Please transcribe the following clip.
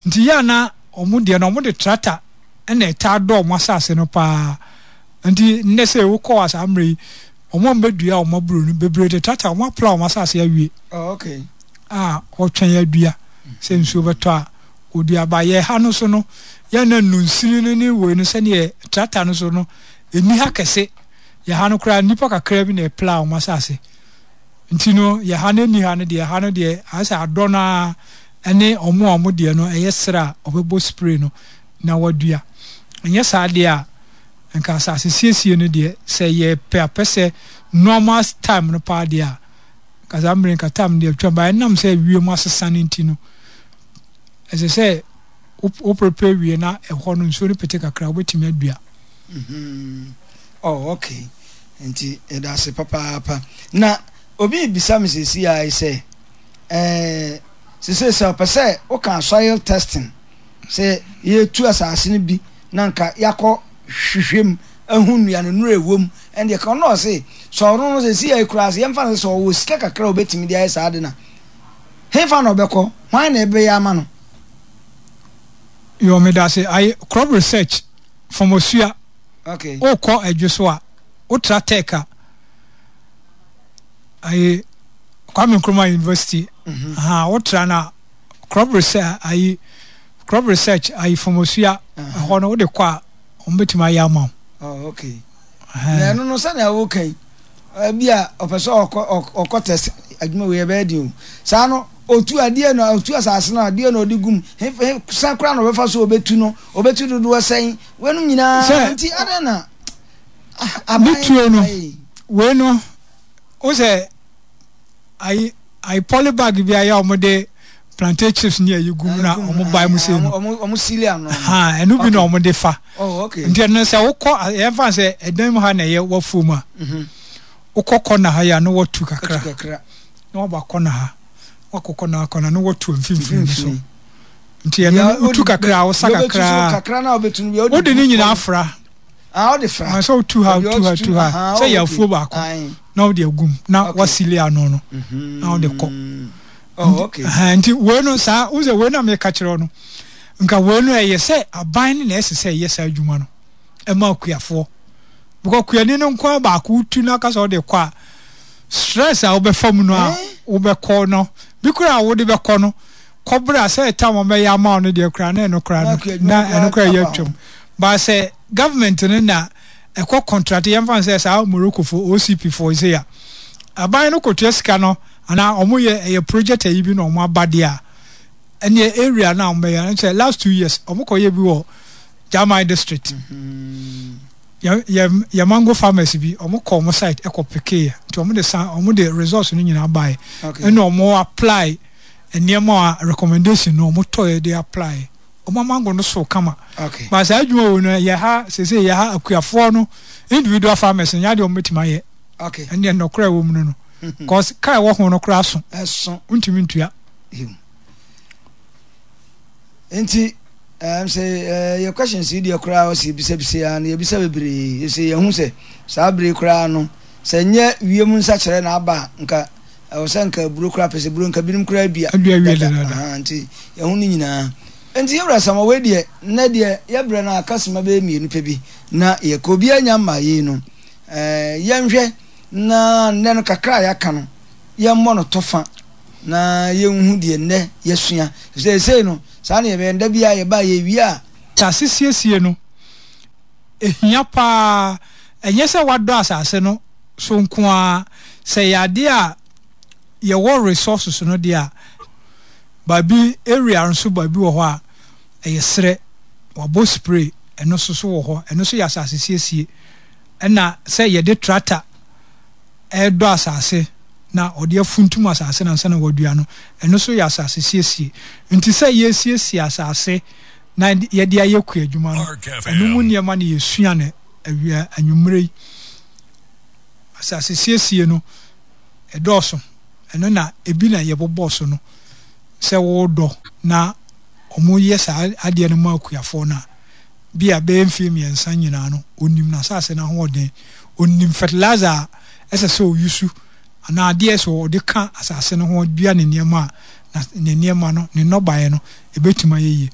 Nti yɛ a na wɔn deɛ no wɔde tractor na ɛtaa dɔ wɔn asase no paa. Nti nnɛ sɛ wokɔ a saa mmerɛ yi, wɔn a wɔbɛdua wɔn aburo no bebree de tractor wɔn apla wɔn asase awie. Oh, okay. A wɔtwɛn adua sɛ nsuo bɛtɔ a wɔdua. Ba yɛ ha no so no, yɛ na nnunsini no ne wei no sɛdeɛ tractor no so no ɛnni ha kɛse. Yɛ ha no koraa nnipa kakra bi na ɛpla wɔn asase. Nti no yɛ ha no ɛnni ha no deɛ, ha no deɛ ayɛ sɛ adɔ no ara ne wɔn a wɔn deɛ no ɛyɛ serɛ a wɔbɛbɔ spray no na wɔadua. Ɛnyɛ saa deɛ a, nka asase siesie no deɛ sɛ yɛpɛ apɛsɛ normal time no paa deɛ a, nka saa mmerɛ nka time no deɛ atwam, but ɛnam sɛ wiem asesa no nti no, ɛsɛ sɛ wo prepare wie na ɛhɔ no nsuo no pete kakra wobɛtumi adua. Mm-hmm. Oh, okay. Nti yɛda ase papaapa. Na obi rebisa me seesei ara yi sɛ, ɛɛ, seesei sɛ ɔpɛ sɛ woka soil testing, sɛ yɛtu asase no bi na nka yɛakɔ hwehwɛ mu ahu nnuane nnuro a ɛwɔ mu, ɛndeɛ ka ɔno ɔse sɛ ɔno no seesei ara yi koraa sɛ yɛmfa no sɛ sɛ ɔwɔ sika kakra a ɔbɛtumi de ayɛ saa ade no a, hefa na ɔbɛkɔ? Hwan na ɛbɛyɛ ama no? Yo, meda ase. Aye, crop research from Osua. Okay. Wokɔ Adwo so a, wotra Tech a, aye, Kwame Nkrumah University. Mm -hmm. Aha, wotra na crop research ayi crop research ayi from Osua. Ɛhɔ uh -huh. no wode kɔ a, wɔn bɛtumi ayɛ ama wo. Oh, okay. Na ɛno no sɛnea woka yi, ebi a ɔpɛ sɛ ɔkɔ ɔkɔ test adwuma wei ɛbɛyɛ den o. Saa no otu adeɛ na otu asase no adeɛ na ɔde gum he he san koraa na ɔbɛfa so ɔbɛtu no ɔbɛtu dodoɔ sɛn weinom nyinaa Sɛ nti adɛn na ah, ne aban tuo no ayɛ yi. wei no wo sɛ ayi ayi poly bag bi ayɛ a wɔde plantain chips ne ayi gu mu na Ayi gu mu wɔn bae mu sei no wɔn sili ano no. Ha ɛno bi na Okay. wɔn de fa Oh, okay. nti ɛno sɛ wokɔ yɛmfa sɛ ɛdan mu ha na ɛyɛ wafuo mu a wokɔ kɔna ha yi a na watu kakra Watu kakra. na waba kɔna ha wakɔ kɔna ha kɔna na watu mfimfini no so Mfimfini. nti ɛno Deɛ no wotu wode kakra bɛ a wosa deɛ wobɛtu so kakra kakra na wobɛtu no deɛ wode wode ne gu nyinaa fam. fra Ah, wode fra. Ah, sɛ wotu ha Baabi a wotu ha wotutu tu ha aha, sɛ oh, yɛ okay. afuo baako Ae. na wode agum na Okay. wasili ano no na wode kɔ Mhm. Oh, okay. Nti, nti wei no saa wo sɛ wei na meka kyerɛ wo no nka wei no ɛyɛ sɛ aban no na ɛsɛ sɛ ɛyɛ saa adwuma no ɛma akuafoɔ because kuani no nko ara baako wotu na aka sɛ wode kɔ a stress a wobɛfa mu no a Eh? wobɛkɔ no bi koraa a wode bɛkɔ no kɔbrɛ a sɛ ɛtam wɔbɛyɛ ama wo no deɛ koraa na ɛno koraa Na no akua adwuma na no koraa ɛno koraa ɛyɛ aba ho. atwam ba sɛ government no na ɛkɔ contract yɛmfa no sɛ saa Morocco fo OCP fo sei a aban no kɔtua sika no anaa wɔn yɛ ɛyɛ project ayi bi na wɔn aba deɛ a ɛneɛ area no a wɔn bɛyɛ no sɛ last 2 years wɔn kɔyɛ bi wɔ German district yɛ yɛ yɛ mango farmers bi wɔn kɔ wɔn site ɛkɔ pekee nti wɔn de san wɔn de results no nyinaa baeɛ ɛna wɔn apply nneɛma a recommendation no wɔn tɔɛ de apply wɔn mango no so kama Okay. Ba saa adwuma wo no yɛ ha sese yɛ ha akuafoɔ no individual farmers nyɛ adeɛ wɔn bɛtumi ayɛ. Okay. Ɛnneɛ nnɔkorɛ ɛwɔ mu no no cause kaa ɛwɔ ho no koraa so. Ɛso. Ntumi ntua. Nti sɛ yɛ questions yi deɛ koraa ɔsɛ yɛbisabisa ya no yɛbisa bebree yɛsɛ yɛhu sɛ saa bere koraa no sɛ nyɛ wiem nsakyerɛ na aba a nka ɛwɔ sɛ nka aburo koraa pɛ sɛ buro nka binom koraa dua Adua wie dada. Nti yɛho no nyinaa nti yɛwura sama wei deɛ nnɛ deɛ yɛbrɛ no aka sima bɛyɛ mmienu pɛ bi na yɛkɔ obiara nya mmaa yei no yɛnhwɛ na nnɛ no kakra a yɛaka no yɛmmɔ no tɔfa na yɛnhu deɛ nnɛ yɛasua efisɛ seesei no saa na yɛbɛyɛ da biara yɛba a yɛwie a. Asase siesie no, ɛhia paa. Ɛnyɛ sɛ woadɔ asase no so nko ara. Sɛ ɛyɛ adeɛ a yɛwɔ resources no deɛ a, baabi area nso baabi wɔ hɔ a ɛyɛ serɛ, wɔabɔ spray, ɛno nso so wɔ hɔ. Ɛno nso yɛ asase siesie. Ɛna sɛ yɛde tractor redɔ asase na ɔde afuntum asase no ansa na wadua no, ɛno nso yɛ asase siesie. Nti sɛ yɛresiesie asase na yɛde ayɛ kuadwuma no, ɛno mu nneɛma na yɛsua no awia anwummerɛ yi. Asase siesie no, ɛdɔɔso. Ɛno na ebi na yɛbobɔ so no. Sɛ woredɔ na wɔyɛ saa adeɛ no ma akuafoɔ no a, bi a bɛyɛ mfeɛ mmiɛnsa nyinaa no, ɔnim n'asase no ahoɔden, ɔnim fertilizer a ɛsɛ sɛ ɔyusu anaa adeɛ a ɛsɛ ɔde ka asase no ho dua ne nneɛma a, na ne nneɛma no, ne nnɔbaeɛ no, ɛbɛtumi ayɛ yie.